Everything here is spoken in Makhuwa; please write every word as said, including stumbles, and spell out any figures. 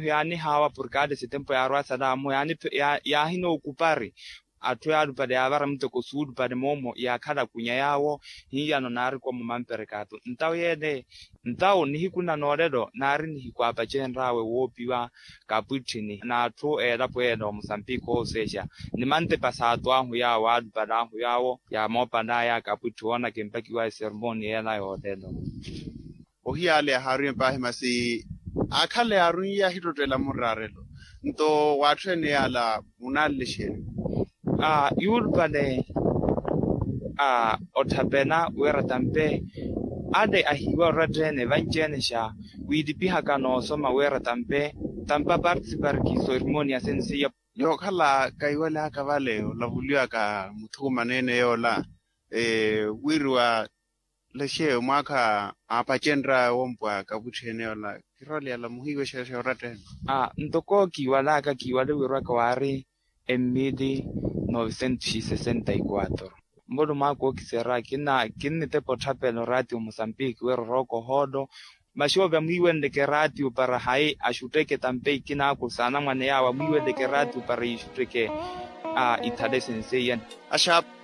Yaanihaawa porkade setempo yaarwa salaamu yaahinookupari. Atthu yaalupale yaavara muteko suulupale moomo yaakhala kunya yaawo. Hiiyano naarikomo mamperekaatu ntawo yeene. Ntawo nihiku nanoolelo naari nihiku aapacenraawe woopiwa kapwitthini n'atthu eelapo yeene omusambiki ooseexa ni mantepa saato ahu yaawo aalupale ahu yaawo yaamoopalaya kapwitthi woonaka empakiwa esermoni yeela yoolelo. Ohiyaale yahaariwe paahi masi aakhale yaaruiye ahittottela murraarelo. Nto w'atthu ene yaala munaalelexeriwa. Yuulupale otthapela wira tampe ale ahiiwa oratta ene vanci-ene xa wiilipihaka noosoma wira tampe tampa participar ki sorimoni ya sensiya. Yookhala kaiwalaka vale olavuliwaka muthukumana ene yoola wiriwa lexe mwaakha aapacenrya wompwa kapwitthi ene yoola. Kiroliyala muhiiwe xeexa oratta ene. Ntoko kiiwalaka kiiwale wirwaka waari emmili novecentos e sessenta e quatro. Mbolo mwaakha ookiserya kinnitepa otthapela oraatiyo musambiki wira orooka ohoolo. Maxoove amwiiwenleke eraatiyo para hayi axutteke tampe ikinaako saana mwane yaawo amwiiwenleke eraatiyo para yiixutteke. Ithale senseiyani. Axaapa.